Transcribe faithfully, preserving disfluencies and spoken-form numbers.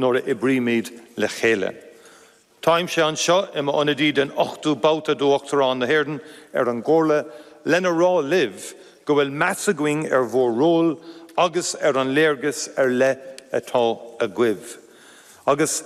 nuair a oibrímid le chéile. Táimse anseo i m'ionadaí den ochtú babhta d'Uachtarán na hÉireann ar an gComhairle lena rá libh go bhfuil meas againn ar bhur ról agus ar an léargas ar leith atá agaibh. Agus